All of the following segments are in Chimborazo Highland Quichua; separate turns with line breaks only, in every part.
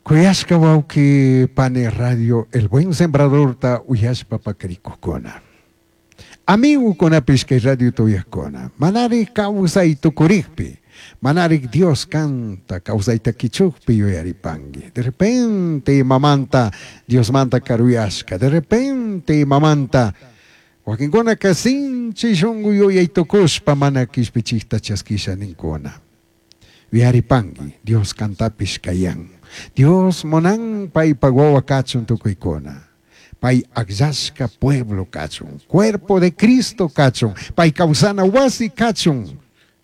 Kuyashka wawqi pani radio El Buen Sembradorta uyashpa pakarikukuna. Amigukunapish kay radiota uyajkuna. Manarik kawsay tukurikpi, manarik Dios kanta kawsayta kichukpi yuyaripanki. De repente imamanta Diosmanta karuyashka, de repente imamanta wakinkunaka sinchi shunku yuyay tukushpa mana kishpichikta chaskisha ninkuna. Yuyaripanki, Dios kantapish kayan. Dios munan paypak wawa kachun tukuykuna. Pay akllashka pueblo kachun, cuerpo de Cristo kachun, pay kawsana wasi kachun.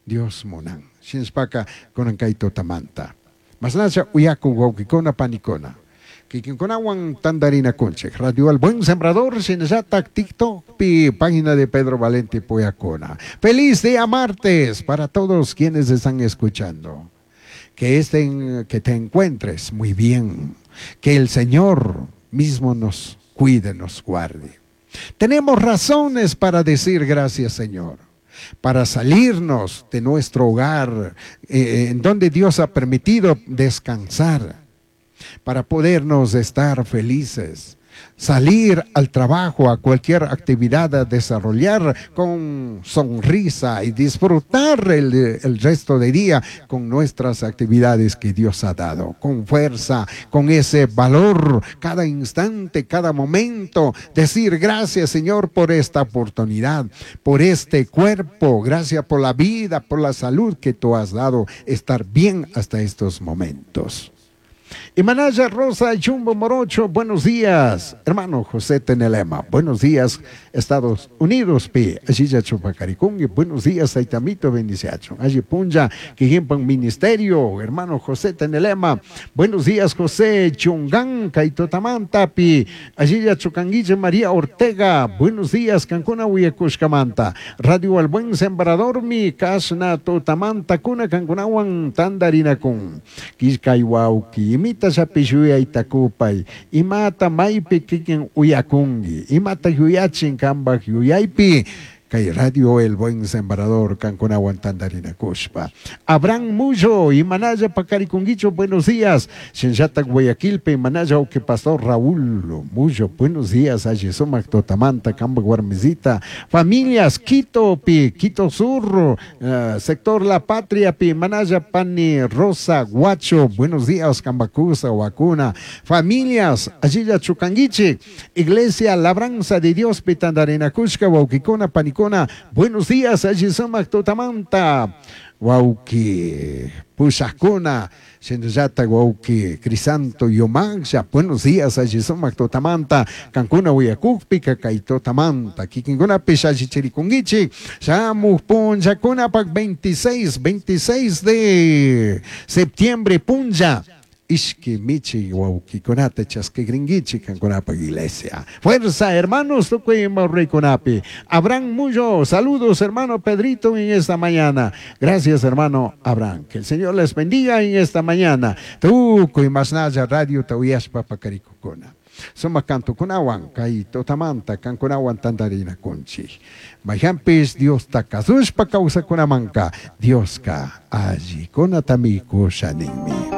Dios munan. Shinashpaka kunan kay tutamanta. Mashnalla uyakuk wawkikuna panikuna. Kikinkunawan tantarinakunchik. Radio El Buen Sembrador, shinallatak TikTokpi, página de Pedro Valente Puyacuna. Feliz día martes para todos quienes están escuchando. Que estén, que te encuentres muy bien. Que el Señor mismo nos cuide, nos guarde. Tenemos razones para decir gracias, Señor. Para salirnos de nuestro hogar, en donde Dios ha permitido descansar, para podernos estar felices, salir al trabajo, a cualquier actividad a desarrollar con sonrisa y disfrutar el resto de día con nuestras actividades que Dios ha dado, con fuerza, con ese valor, cada instante, cada momento, decir gracias Señor por esta oportunidad, por este cuerpo, gracias por la vida, por la salud que tú has dado, estar bien hasta estos momentos. Y Manaya Rosa Chumbo Morocho, buenos días. Hermano José Tenelema, buenos días, Estados Unidos, pi. Allí Chupacaricungui, buenos días, Aitamito, bendiciacho. Allí Punja, Quijimpan Ministerio, hermano José Tenelema, buenos días, José Chungán, Kaitotamanta, pi. Allí Chucanguille María Ortega, buenos días, Cancuna Huyecushcamanta. Radio El Buen Sembrador, mi Kasna Totamanta, Cuna Cancunawan, Tandarinacun. Quiscayhuauqui, imita shapishuyay takupay, imata maypi kikin uyakunki, imata yuyachin kambaj yuyaypi, kay Radio El Buen Sembrador kankunawan tantarinakushpa. Abraham Mullo, imanalla pakarikunguicho, buenos días. Shinllata Guayaquilpe, imanalla uque pastor Raúl Mullo, buenos días. Allí sumak totamanta, kamba guarmizita. Familias, Quito, pi, Quito Sur, sector La Patria, pi, manalla pani Rosa Guacho, buenos días, Cambacusa, Huacuna. Familias, allí ya Chucanguiche, Iglesia Labranza de Dios, pi, tandarinakushka, wauquicona, panicona. Buenos días, allí sumak totamanta. Wauki, Pushakuna, Shinllata Wauki, Crisanto Yomancha, buenos días, allí sumak totamanta, Cancuna Uyakukpi, Kakaitotamanta, Kikinkuna Pishachichirikungichi, Shamu Punja Kunapak 26 de septiembre, Punja. Ishki michi waukikunata chaskigringuichi kankunapa iglesia. Fuerza, hermanos, tukuy morrikunapi. Abraham Mullo, saludos, hermano Pedrito, en esta mañana. Gracias, hermano Abraham. Que el Señor les bendiga en esta mañana. Tukuy masnaya radio tauyaspa pakarikukuna. Suma kantukunawan, kay totamanta, kankunawan tantarina kunchi. Mayampis Dios takasushpa kawsakunamanka, Dioska allikunatami kushaninmi.